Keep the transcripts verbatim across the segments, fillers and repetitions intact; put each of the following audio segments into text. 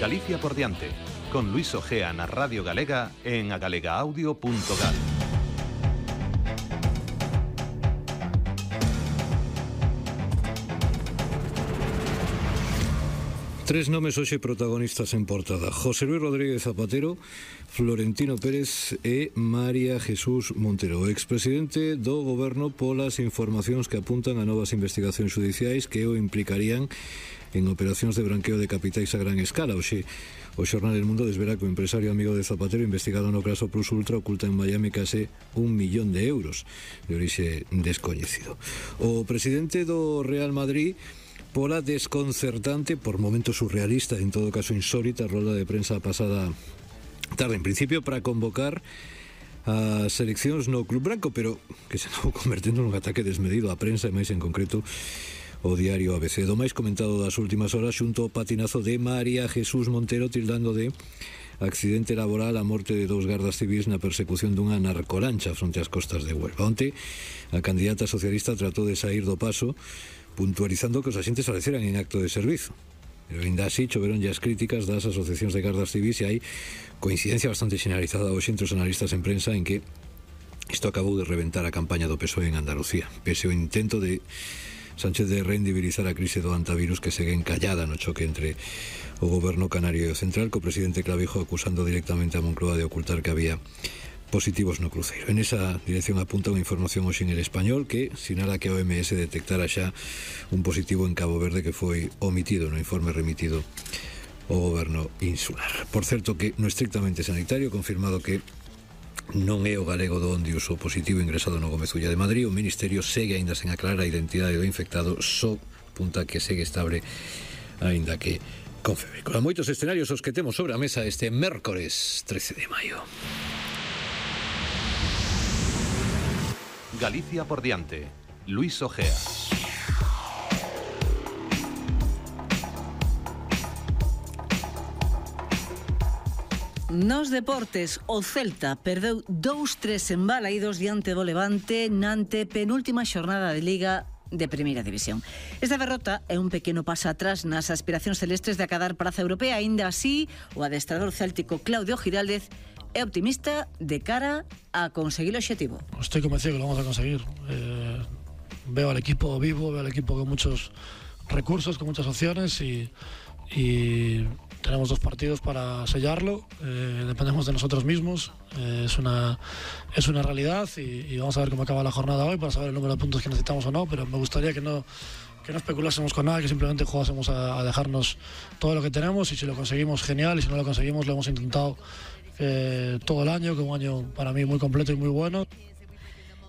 Galicia por diante, con Luis Ojea na Radio Galega en agalegaaudio punto gal. Tres nomes hoxe protagonistas en portada: José Luis Rodríguez Zapatero, Florentino Pérez e María Jesús Montero, o expresidente do goberno, polas informacións que apuntan a novas investigacións judiciais que o implicarían en operacións de branqueo de capitais a gran escala. Hoxe o xornal El Mundo desvela que o empresario amigo de Zapatero, investigado no caso Plus Ultra, oculta en Miami case un millón de euros de orixe descoñecido. O presidente do Real Madrid, pola desconcertante, por momentos surrealista, en todo caso insólita, rolda de prensa pasada tarde, en principio para convocar as seleccións no Club Branco, pero que se acabou convertendo nun ataque desmedido á prensa, e máis en concreto o diario A B C. Do máis comentado das últimas horas, xunto ao patinazo de María Jesús Montero, tildando de accidente laboral a morte de dous gardas civis na persecución dunha narcolancha fronte ás costas de Huelva. Onte, a candidata socialista tratou de sair do paso, puntualizando que os axentes faleceran en acto de servizo. Pero ainda así choveronlle as críticas das asociacións de gardas civis, e hai coincidencia bastante generalizada hoxe entre os analistas en prensa en que isto acabou de reventar a campaña do P S O E en Andalucía, pese ao intento de Sánchez de rendibilizar a crise do antivirus, que segue encallada no choque entre o goberno canario e o central, co presidente Clavijo acusando directamente a Moncloa de ocultar que había positivos no cruceiro. En esa dirección apunta unha información hoxe en El Español que sinala que a O M S detectara xa un positivo en Cabo Verde que foi omitido no informe remitido ao goberno insular. Por certo que no estrictamente sanitario, confirmado que non é o galego do Ondius o positivo ingresado no Gómez Ulla de Madrid, o Ministerio segue aínda sen aclarar a identidade do infectado, só apunta que segue estable aínda que con febre. Con moitos escenarios os que temos sobre a mesa este mércores trece de maio. Galicia por diante, Luis Ojea. Nos deportes, o Celta perdeu dous tres en Balaídos diante do Levante na antepenúltima xornada de Liga de Primeira División. Esta derrota é un pequeno paso atrás nas aspiracións celestes de acadar praza europea. Aínda así, o adestrador céltico Claudio Giraldez é optimista de cara a conseguir o obxectivo. Estoy convencido que lo vamos a conseguir. Eh, veo al equipo vivo, veo al equipo con muchos recursos, con muchas opciones y, y tenemos dos partidos para sellarlo. Eh, dependemos de nosotros mismos. Eh, es una es una realidad y, y vamos a ver cómo acaba la jornada hoy para saber el número de puntos que necesitamos o no, pero me gustaría que no que no especulásemos con nada, que simplemente jugásemos a, a dejarnos todo lo que tenemos, y si lo conseguimos, genial, y si no lo conseguimos, lo hemos intentado eh, todo el año, que es un año para mí muy completo y muy bueno.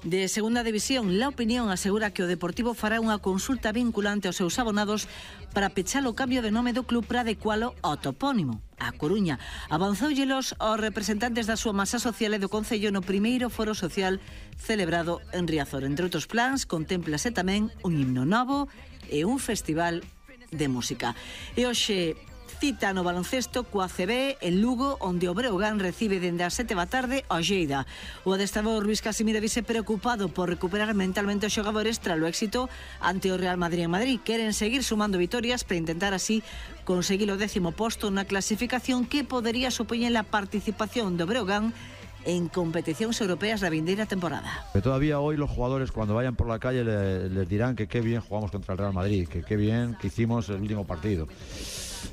De segunda división, La Opinión asegura que o Deportivo fará unha consulta vinculante aos seus abonados para pechar o cambio de nome do club para adecualo ao topónimo. A Coruña avanzoullelos aos representantes da súa masa social e do Concello no primeiro foro social celebrado en Riazor. Entre outros plans, contémplase tamén un himno novo e un festival de música. E hoxe cita no baloncesto coa C B en Lugo, onde o Breogán recibe dende as sete da tarde ao Lleida. O adestrador Luis Casimiro vise preocupado por recuperar mentalmente os xogadores tras o éxito ante o Real Madrid en Madrid. Queren seguir sumando vitorias para intentar así conseguir o décimo posto na clasificación que podería supoñer a participación do Breogán en competicións europeas da vindeira temporada. Que todavía hoy los jugadores, cuando vayan por la calle, le, les dirán que qué bien jugamos contra el Real Madrid, que qué bien que hicimos el último partido.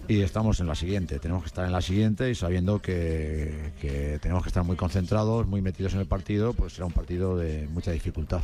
Y estamos en la siguiente, tenemos que estar en la siguiente y sabiendo que, que tenemos que estar muy concentrados, muy metidos en el partido, pues será un partido de mucha dificultad.